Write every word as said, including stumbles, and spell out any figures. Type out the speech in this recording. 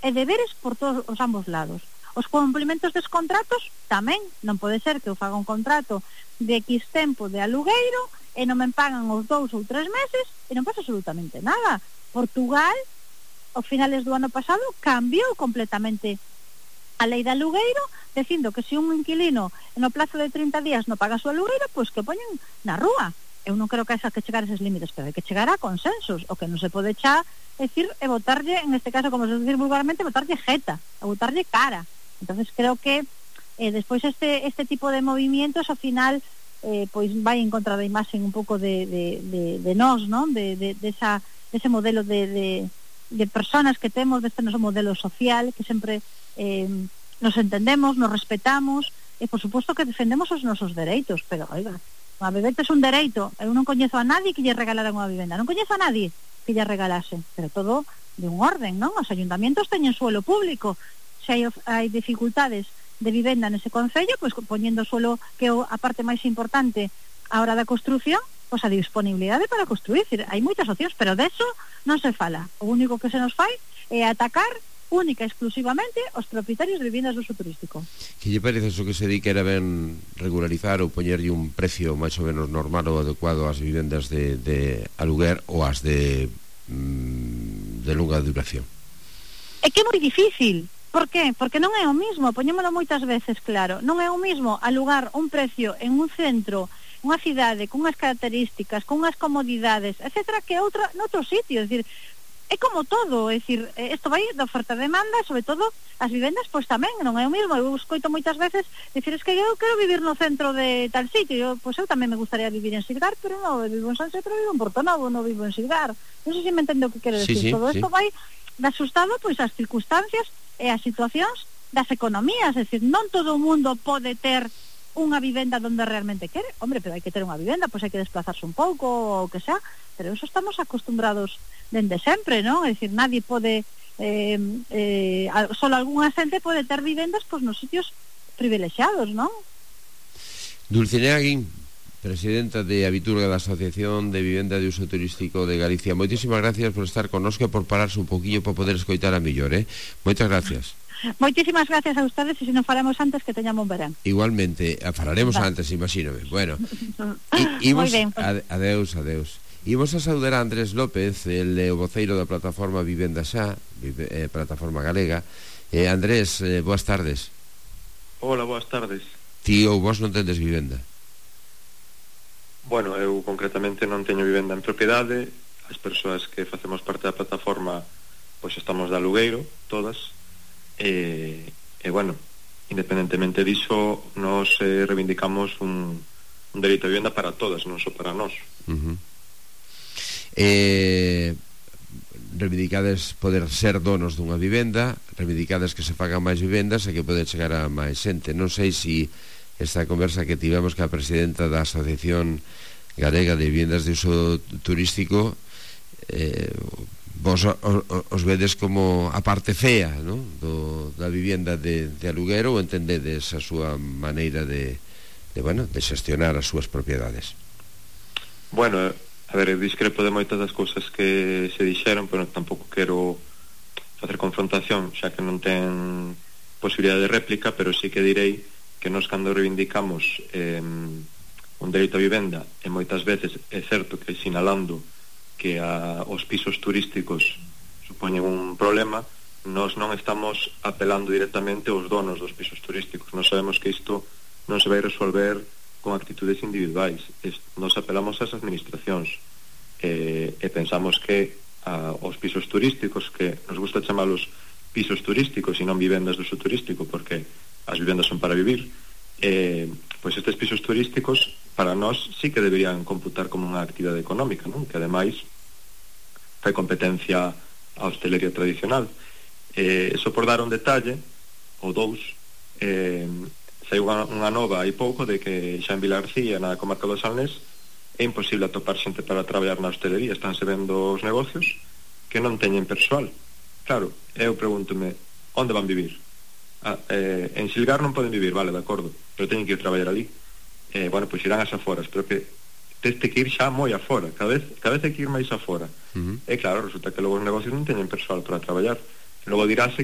e deberes por todos os ambos lados. Os complementos dos contratos tamén, non pode ser que eu faga un contrato de X tempo de alugueiro e non me pagan os dous ou tres meses e non pasa absolutamente nada. Portugal, ao finales do ano pasado, cambiou completamente a lei de alugueiro, dicindo que se un inquilino no plazo de trinta días non paga o seu alugueiro, pois que poñen na rúa. Eu non creo que haya que chegar a eses límites, pero hai que chegar a consensos. O que non se pode echar, é dicir, é botarlle, en este caso, como se dice vulgarmente, botarlle jeta, a botarlle cara. Entonces creo que eh, despois este este tipo de movimientos, ao final, eh, pois vai en contra da imaxe un pouco de, de, de, de nós, non? De, de, de, esa, de ese modelo de, de, de personas que temos, deste noso modelo social, que sempre eh, nos entendemos, nos respetamos, e por suposto que defendemos os nosos dereitos, pero, oiga, unha vivenda é un dereito. Eu non coñezo a nadie que lle regalara unha vivenda, non coñezo a nadie que lle regalase, pero todo de un orden, non? Os ayuntamientos teñen suelo público. Se hai, hai dificultades de vivenda nese concello, pois poñendo suelo, que é a parte máis importante a hora da construción, pois a disponibilidade para construir. Hai moitas opcións, pero deso non se fala. O único que se nos fai é atacar única e exclusivamente os propietarios de viviendas de uso turístico. Que lle parece eso que se di que era ben regularizar ou poñerlle un precio máis ou menos normal ou adecuado ás vivendas de, de aluguer ou ás de, mm, de longa duración? É que é moi difícil. Por qué? Porque non é o mismo, poñémolo moitas veces claro, non é o mismo alugar un precio en un centro, unha cidade, con unhas características, con unhas comodidades, etcétera, que outra noutro sitio. É dicir, é como todo, é dicir, isto vai de oferta e demanda, sobre todo as vivendas, pois tamén non é o mismo. Eu escoito moitas veces dicir, es que eu quero vivir no centro de tal sitio, eu, pois eu tamén me gustaría vivir en Silgar, pero non vivo en Sanse, pero vivo en Portonovo, non vivo en Silgar. Non sei se me entendo o que quero decir. Sí, sí, todo sí. isto vai de asustado pois as circunstancias e as situacións das economías. É dicir, non todo o mundo pode ter unha vivenda donde realmente quere. Hombre, pero hai que ter unha vivenda, pois hai que desplazarse un pouco ou o que sea, pero eso estamos acostumbrados dende sempre, non? É dicir, nadie pode eh, eh, solo algunha xente pode ter vivendas pois nos sitios privilexiados, non? Dulcinea Guín, presidenta de Abiturga da Asociación de Vivenda de Uso Turístico de Galicia, moitísimas gracias por estar connosco e por pararse un poquillo para poder escoitar a mellor, eh? Moitas gracias. Moitísimas gracias a ustedes, e se non falamos antes, que teñamos un verán. Igualmente, falaremos vale. antes, imagínome. Bueno, imos, ade, adeus, adeus. Imos a saudar a Andrés López, el eh, voceiro da plataforma Vivenda Xa, vive, eh, plataforma galega. eh, Andrés, eh, boas tardes. Hola, boas tardes. Ti ou vos non tendes vivenda? Bueno, eu concretamente non teño vivenda en propiedade. As persoas que facemos parte da plataforma pois estamos de alugueiro, todas. E, e bueno, independentemente diso, nos eh, reivindicamos un, un dereito a vivenda para todas, non só para nós. Uh-huh. eh, Reivindicades poder ser donos dunha vivenda, reivindicades que se fagan máis vivendas e que pode chegar a máis xente. Non sei se esta conversa que tivemos ca presidenta da Asociación Galega de Vivendas de Uso Turístico eh, vos os vedes como a parte fea, ¿no? Do, da vivenda de, de aluguero, ou entendedes a súa maneira de, de, bueno, de xestionar as súas propiedades? Bueno, a ver, eu discrepo de moitas das cousas que se dixeron, pero tampouco quero facer confrontación, xa que non ten posibilidade de réplica, pero sí que direi que nós cando reivindicamos eh, un dereito a vivenda, e moitas veces é certo que sinalando que a, os pisos turísticos supoñen un problema, nós non estamos apelando directamente aos donos dos pisos turísticos. Nós sabemos que isto non se vai resolver con actitudes individuais. Es, nós apelamos ás administracións e, e pensamos que a, os pisos turísticos, que nos gusta chamalos pisos turísticos e non vivendas de uso turístico, porque as vivendas son para vivir, eh, pois estes pisos turísticos para nós sí que deberían computar como unha actividade económica, non? Que ademais fai competencia a hostelería tradicional. Eh, eso por dar un detalle ou dous, eh, saiu unha, unha nova hai pouco de que xa en Vilarcía, na comarca do Salnés, é imposible atopar xente para traballar na hostelería. Estánse vendo os negocios que non teñen persoal. Claro, eu pregúntome, onde van vivir? Ah, eh, en Silgar non poden vivir, vale, de acordo, pero teñen que ir traballar ali. Eh, bueno, pois irán as aforas, pero que teste que ir xa moi afora, cada vez, cada vez hai que ir máis afora. Uh-huh. E claro, resulta que logo os negocios non teñen persoal para traballar. E logo diráse